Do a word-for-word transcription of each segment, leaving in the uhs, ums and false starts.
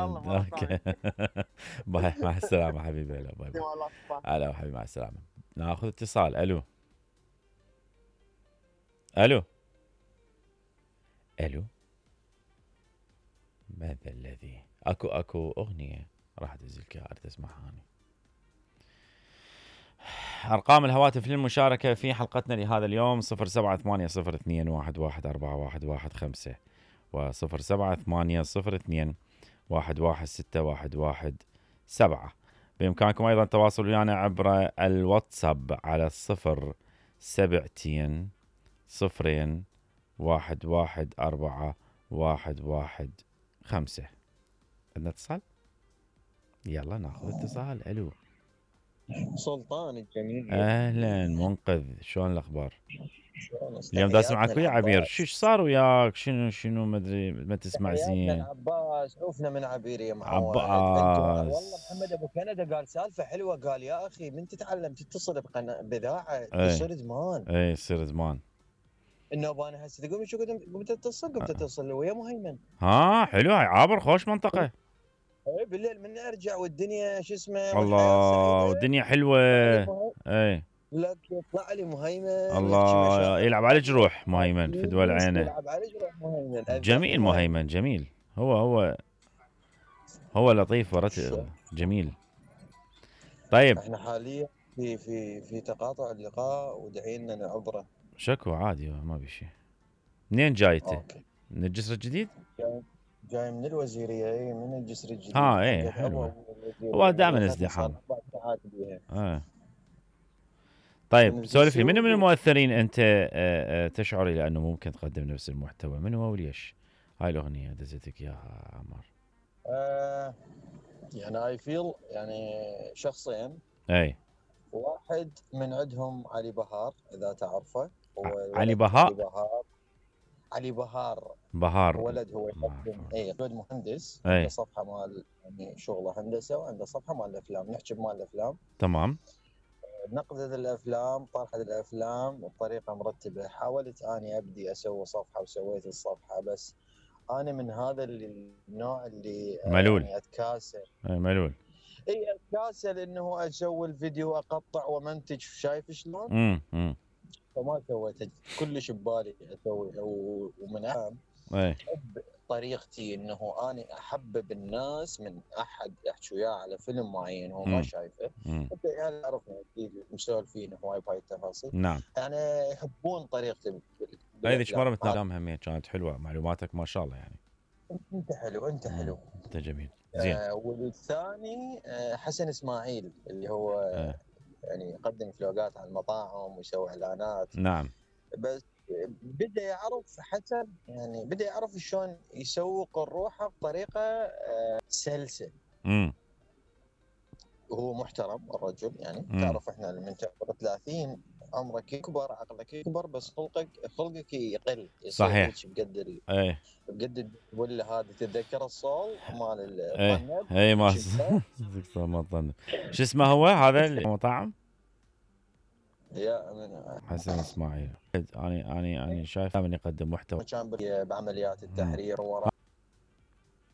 شاء الله مرة اوكي. ثانية. باي، مع السلامة حبيبي. هلا باي باي. والله باي. هلا حبيبي، مع السلامة. ناخذ اتصال. الو الو الو ماذا الذي اكو اكو اغنية راح ادزلك اياها، اريد اسمعها اني. ارقام الهواتف للمشاركة في حلقتنا لهذا اليوم صفر سبعة ثمانية صفر اثنين واحد واحد أربعة واحد واحد خمسة وصفر سبعة ثمانية صفر اثنين واحد واحد ستة واحد واحد سبعة. بإمكانكم أيضا التواصل ويانا عبر الواتساب على الصفر سبعتين صفرين واحد واحد أربعة واحد واحد خمسة. عندنا اتصال؟ يلا ناخذ اتصال. ألو سلطان الجميل. أهلا منقذ، شلون الأخبار؟ اليوم دا تحياتنا اسمعك ويا عبير، العباس. شو صار وياك؟ شنو شنو ما ادري، ما تسمع تحياتنا زين. العباس، عوفنا من عبير يا معود. انتوا عباس والله محمد ابو كندا قال سالفه حلوه، قال يا اخي من تتعلم تتصل بقناه باذاعه اي يصير زمان. اي يصير زمان. انه انا هسه تقول شو قمت قمت اتصل قمت اتصل ويا مهيمن. ها حلو، هاي عابر خوش منطقة. اي بالليل من ارجع والدنيا شو اسمه والحياه الله، سعيده. والدنيا حلوة. اي لك يطلع لي مهيمن يحكي الله، مشاعر يلعب على جروح مهيمن في دول عينه. يلعب على جروح مهيمن. جميل مهيمن، جميل. هو هو هو لطيف ورت جميل. طيب احنا حاليا في في في تقاطع اللقاء ودعينا نعبره. شكو عادي ما بشي. منين جايته؟ اوكي. من الجسر الجديد؟ جاي, جاي من الوزيريه، اي من الجسر الجديد. ها ايه حلوة. هو دائما ازدحام. اه طيب سولف لي، منو من المؤثرين انت آه آه تشعر الى انه ممكن تقدم نفس المحتوى؟ من هو وليش؟ هاي الاغنيه دزتك اياها عمار. آه يعني اي فيل يعني شخصين. اي واحد من عندهم علي بهار اذا تعرفه. هو علي بهاء. علي بهاء بهار. علي بهار بهار ولد هو يقدم اي ولد مهندس. أي. عنده صفحه مال يعني شغله هندسه، وعنده صفحه مال الافلام، نحكي بمال الافلام. تمام. نقدت الافلام، طرحت الافلام بطريقه مرتبه. حاولت اني ابدي اسوي صفحه وسويت الصفحه، بس انا من هذا النوع اللي ملول. يعني اتكاسل. اي ملول. اي اتكاسل انه اسوي الفيديو اقطع ومنتج، شايف شلون؟ امم فما سويت كلش ببالي اسوي. ومن اهم اي احب طريقتي انه اني احبب الناس من احد احكي وياه على فيلم معين هو ما مم. شايفه. مم. انت يعني تعرفنا اكيد مسولفين هواي بهاي التفاصيل. نعم. يعني يحبون طريقتي. هذه ايش مره متناقم همين، كانت حلوه معلوماتك ما شاء الله يعني. انت حلو، انت حلو. انت جميل زين. آه والثاني آه حسن اسماعيل اللي هو آه. يعني يقدم فلوقات على المطاعم ويسوي اعلانات. نعم. بس بدا يعرف حسن، يعني بدا يعرف شلون يسوق الروحه بطريقه آه سلسه. امم وهو محترم الرجل يعني. مم. تعرف احنا من تعمر ثلاثين عمرك يكبر، عقلك يكبر، بس خلقك خلقك يقل. صحيح. بقد ال... اي بقد ولا هذه تتذكر الصول مال اي الطنب. اي ما ما طنب. شو اسمه هو هذا المطعم؟ يا من حسن اسماعيل. اني اني اني شايف من يقدم محتوى. كان بعمليات التحرير وراء.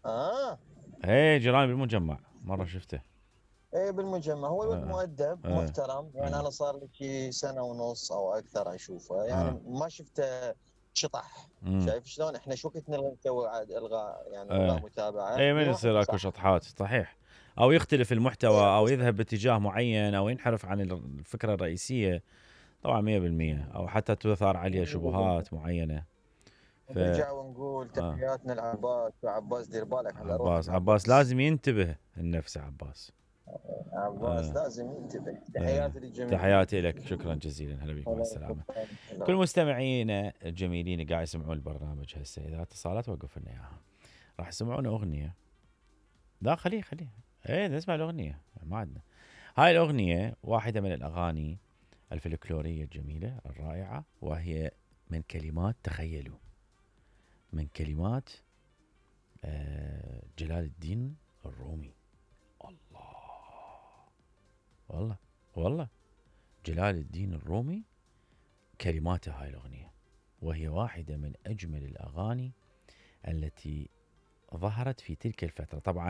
اه اي جيراني بالمجمع مره شفته. ايه بالمجمع. هو الولد آه. مؤدب آه. محترم يعني. آه. انا صار لي شي سنه ونص او اكثر اشوفه يعني. آه. ما شفته شطح. مم. شايف شلون؟ احنا شو كنت نلغي نسوي عاد الغاء يعني آه. الغاء متابعه. اي من يصير اكو شطحات صحيح، او يختلف المحتوى او يذهب باتجاه معين او ينحرف عن الفكره الرئيسيه. طبعا مية بالمية، او حتى تثار عليه شبهات معينه. ف... نرجع ونقول تحياتنا لعباس. وعباس دير بالك على روحك. عباس عباس لازم ينتبه النفس عباس. عباس آه. لازم ينتبه. تحياتي للجميع. تحياتي لك، شكرا جزيلا. هلا بك، مع السلامه. كل مستمعينا الجميلين قاعد يسمعون البرنامج هسه، اذا اتصالات وقف لنا اياها راح يسمعون اغنيه. لا خليه خليه ايه نسمع الاغنيه، ما عندنا. هاي الاغنيه واحده من الاغاني الفلكلوريه الجميله الرائعه، وهي من كلمات، تخيلوا، من كلمات آه جلال الدين الرومي. الله والله والله جلال الدين الرومي كلماته هاي الأغنية، وهي واحدة من أجمل الأغاني التي ظهرت في تلك الفترة. طبعا